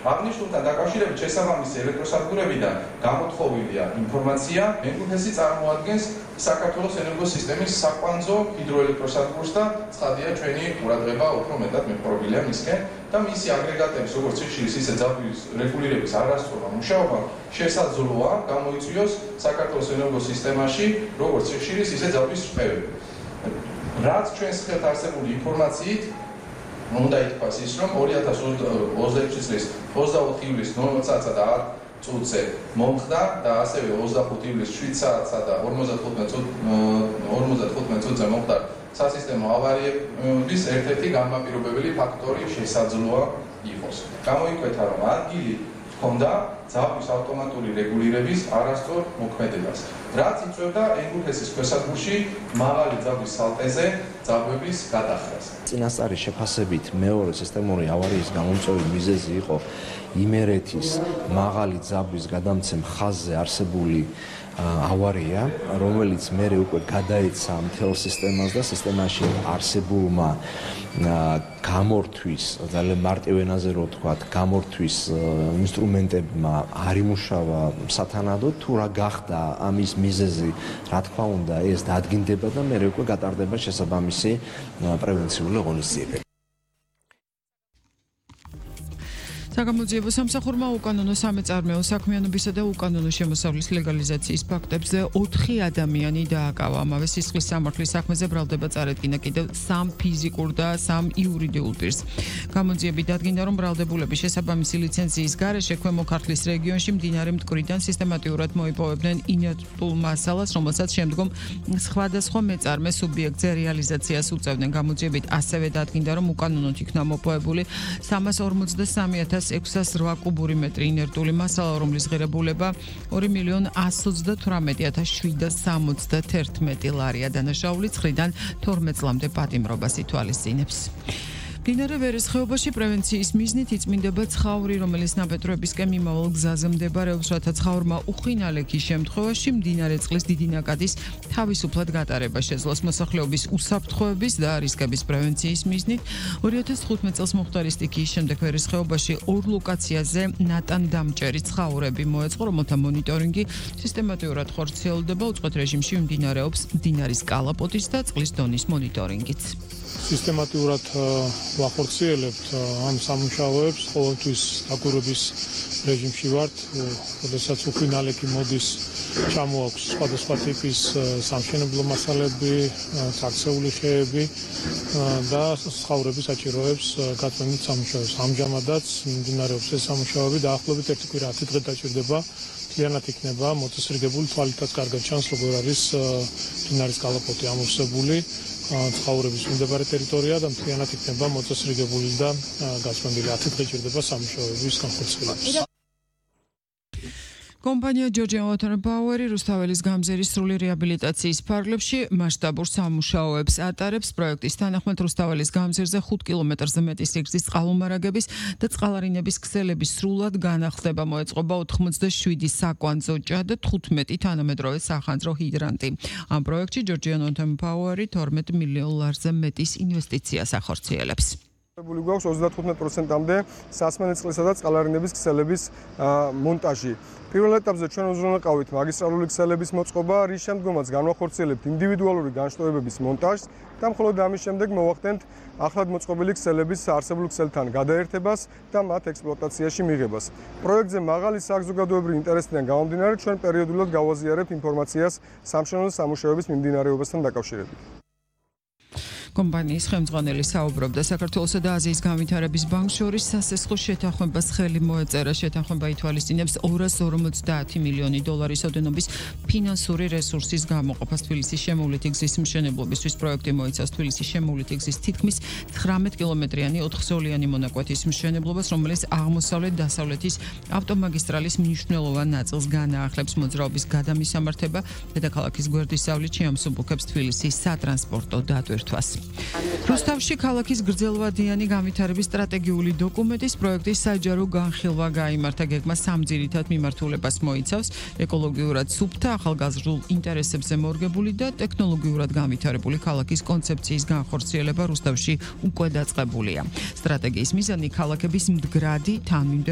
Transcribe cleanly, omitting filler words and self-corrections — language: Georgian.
აღნიშნულთან დაკავშირებით შესაბამისი ელექტროსადგურებიდან გამოთხოვილია ინფორმაცია, ენგურჰესი წარმოადგენს საქართველოს ენერგოსისტემის საკვანძო ჰიდროელექტროსადგურს და ცხადია ჩვენი ყურადღება უფრო მეტად მეპყრობილია მისკენ და მისი აგრეგატების როგორც სიხშირის ისე ძაბვის რეგულირების არასწორმა მუშაობამ შესაძლოა გამოიწვიოს საქართველოს ენერგოსისტემაში როგორც სიხშირის ისე ძაბვის წყევები. რაც ჩვენს ხელთ არსებული ინფორმაციით უნდა ითქვას ის, რომ 2026 წლის 24 ივლისს 0 საათსა და 10 წუთზე მომხდა და ასევე 25 ივლისს 7 საათსა და 55 წუთზე მომხდა სასისტემო ავარიების ერთ-ერთი განმაპირობებელი ფაქტორი შესაძლოა იყოს. გამოიკვეთა, რომ ადგილი ჰქონდა ძაბვის ავტომატური რეგულირების არასწორ მოქმედებას, რაც იწვევდა ენგურჰესის ქვესადგურში მაღალი ძაბვის სალტეზე ძაბვების გადახრას. წინასწარი შეფასებით მეორე სისტემური ავარიის გამომწვევი მიზეზი იყო იმერეთის მაღალი ძაბვის გადამცემ ხაზზე არსებული ავარია, რომელიც მერე უკვე გადაეცა მთელ სისტემას და სისტემაში არსებულმა გამორთვის, ძალიან მარტივ ენაზე რო ვთქვათ, გამორთვის ინსტრუმენტებმა არ იმუშავა სათანადოდ, თუ რა გახდა ამის მიზეზი, რა თქმა უნდა, ეს დადგინდება და მერე უკვე გატარდება შესაბამისი პრევენციული ღონისძიებები. საგამოძიებო სამსახურმა უკანონო სამეწარმეო საქმიანობისა და უკანონო შემოსავლის ლეგალიზაციის ფაქტებზე 4 ადამიანი დააკავა. ამავე სისხლის სამართლის საქმეზე ბრალდება წარედგინა კიდევ 3 ფიზიკურ და 3 იურიდიულ პირს. გამოძიებით დადგინდა, რომ ბრალდებულები შესაბამისი ლიცენზიის გარეშე ქვემო ქართლის რეგიონში მდინარე მტკვრიდან სისტემატიურად მოიპოვებდნენ ინერტულ მასალას, რომელსაც შემდგომ სხვადასხვა მეწარმე სუბიექტზე რეალიზაციას უწევდნენ. გამოძიებით ასევე დადგინდა, რომ უკანონოდ იქნა მოპოვებული 353,608 კუბური მეტრი ინერტული მასალა, რომლის ღირებულება 2,122,771 ლარია. დანაშაული 9-დან 12 წლამდე პატიმრობას ითვალისწინებს. მდინარე ვერის ხეობაში პრევენციის მიზნით იწმინდება ცხავრი, რომელიც ნაბედროებისკენ მიმავალ გზაზე მდებარეობს, რათა ცხავრმა უხინალექის შემთხვევაში მდინარე წყლის დიდი ნაკადის თავისუფლად გატარება შეძლოს. მოსახლეობის უსაფრთხოების და რისკების პრევენციის მიზნით 2015 წელს მომხდარი სტიქიის შემდეგ ვერის ხეობაში 2 ლოკაციაზე ნატან-დამჭერი ცხავრები მოეწყო, რომელთა მონიტორინგი სისტემატიურად ხორციელდება. უწყვეტ რეჟიმში მიმდინარეობს მდინარის კალაპოტის და წყლის დონის მონიტორინგიც. სისტემატიურად ვახორციელებთ ამ სამუშაოებს, ყოველთვის დაკვირვების რეჟიმში ვართ, როდესაც უხინალექი მოდის, ჩამოაქვს სხვადასხვა ტიპის სამშენებლო მასალები, წარცეული ხეები და სხავრების საჭიროებს გაწმენდით სამუშაოებს. ამჟამადაც მიმდინარეობს ეს სამუშაოები, დაახლოებით 1 კვირა 10 დღე დაჭირდება. მთლიანად იქნება მოწესრიგებული, თვალითაც კარგად ჩანს, როგორ არის მდინარის კალაპოტი ამოვსებული. ცხავრების მიმდებარე ტერიტორია და მთლიანად იქნება მოწესრიგებული და გაწმენდილი 10 დღე ჭირდება სამუშაოების განხორციელებას. კომპანია Georgian Water Power რუსთაველის გამზერის სრული რეაბილიტაციის ფარგლებში მასშტაბურ სამუშაოებს ატარებს. პროექტის თანახმად რუსთაველის გამზერზე 5 კილომეტრზე მეტი სიგრძის წყალმომარაგების და წყალარინების ქსელების სრულად განახლდება. მოეწყობა 87 საკვანძო ჭა და 15 თანამედროვე სახანძრო ჰიდრანტი. ამ პროექტში Georgian Water Power 12 მილიონ ლარზე მეტის ინვესტიციას ახორციელებს. გვაქვს 35%-მდე სასმელი წყლისა და წყალარინების ქსელების მონტაჟი. პირველ ეტაპზე ჩვენ უზრუნველყავით მაგისტრალური ქსელების მოწყობა, რის შემდგომაც განვახორციელებთ ინდივიდუალური განშტოებების მონტაჟს და მხოლოდ ამის შემდეგ მოვახდენთ ახლად მოწყობილი ქსელების არსებულ ქსელთან გადაერთებას და მათ ექსპლუატაციაში მიღებას. პროექტზე მაღალი საზოგადოებრივი ინტერესიდან გამომდინარე, ჩვენ პერიოდულად გავაზიარებთ ინფორმაციას სამშენებლო სამუშაოების მიმდინარეობასთან დაკავშირებით. კომპანიის ხელმძღვანელი საუბრობდა საქართველოსა და აზიის განვითარების ბანკს შორის სასესხო შეთანხმებას ხელი მოეწერა. შეთანხმება ითვალისწინებს 250 მილიონი დოლარის ოდენობის ფინანსური რესურსის გამოყოფას. თბილისის შემოვლითი გზის მშენებლობისთვის პროექტი მოიცავს თბილისის შემოვლითი გზის თითქმის 19 კილომეტრიანი 4-ხსოვნიანი მონაკვეთის მშენებლობას, რომელიც აღმოსავლეთ-დასავლეთის ავტომაგისტრალის მნიშვნელოვან ნაწილს განაახლებს. მოძრაობის გადამისამართება დედაქალაქის გვერდისავლით შეამსუბუქებს თბილისის სატრანსპორტო დატვირთვას. რუსთავში ქალაქის გრძელვადიანი განვითარების სტრატეგიული დოკუმენტის პროექტის საჯარო განხილვა გაიმართა. გეგმა 3 ძირითად მიმართულებას მოიცავს: ეკოლოგიურად სუფთა, ახალგაზრდულ ინტერესებზე მორგებული და ტექნოლოგიურად განვითარებული ქალაქის კონცეფციის განხორციელება რუსთავში უკვე დაწყებულია. სტრატეგიის მიზანი ქალაქების მდგრადი, თანმიმდევრ